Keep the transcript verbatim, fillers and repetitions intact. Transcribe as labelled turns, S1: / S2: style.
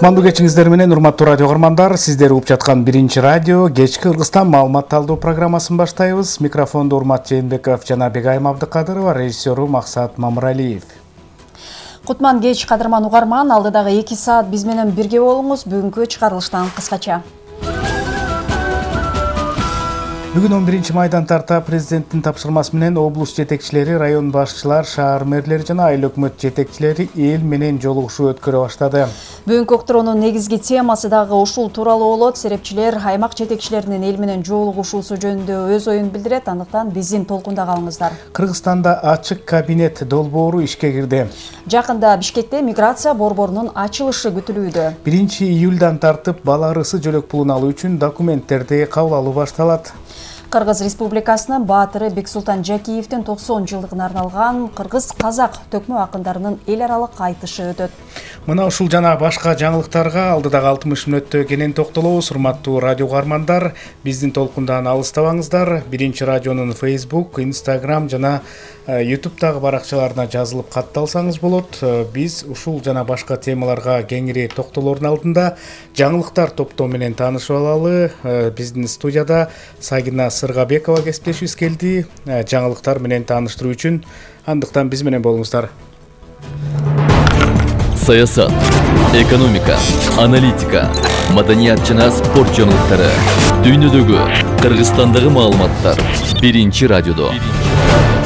S1: Кутмандуу кечиңиздер менен урматтуу радио көрөрмандар, сиздер угуп жаткан биринчи радио кечки Кыргызстан маалымат талдоо программасын баштайбыз. Микрофондо Урмат Жээнбеков жана Бегайым Абдыкадырова, режиссеру Максат Мамыралиев.
S2: Кутман кеч кадырман угарман, алдыдагы эки саат биз менен бирге болуңуз. Бүгүнкү чыгарылыштан кыскача.
S1: Бүгүн он биринчи майдан тарта президенттин тапшырмасы менен облус жетекчилери, район башчылар, шаар мэрлери жана айыл өкмөт жетекчилери эл менен жолугушуу өткөрө баштады.
S2: Бүгүнкү уктуруунун негизги темасы дагы ушул тууралуу болот. Серепчилер аймак жетекчилеринин эл менен жолугушуусу жөнүндө өз оюн билдирет. Андыктан биздин толкунда калыңыздар.
S1: Кыргызстанда ачык кабинет долбоору ишке кирди.
S2: Жакында Бишкекте миграция борборунун ачылышы күтүлүүдө.
S1: биринчи июлдан тартып бала арысы жөлөк пулун алуу үчүн документтерди кабыл алуу башталат.
S2: Кыргыз Республикасынын баатыры Бексултан Жакиевдин токсон жылдыгына арналган кыргыз-казак төкмө акындарынын эл аралык айтышы өтөт.
S1: Мына ушул жана башка жаңылыктарга алдыдагы алтымыш мүнөттө кенен токтолобуз. Урматтуу радио угармандар, биздин толкундан алыстабаңыздар. Биринчи радионун Facebook, Instagram жана YouTube'дагы баракчаларына жазылып катталсаңыз болот. Биз ушул жана башка темаларга кеңири токтолоордун алдында жаңылыктар топтоо менен таанышып алалы. Биздин студияда Сагина Сыргабекова кесиптешибиз келди. Жаңылыктар менен тааныштыруу үчүн андыктан биз менен болуңуздар.
S3: Саясат, экономика, аналитика, маданият жана спорт жаңылыктары, дүйнөдөгү, Кыргызстандагы маалыматтар биринчи радиодо.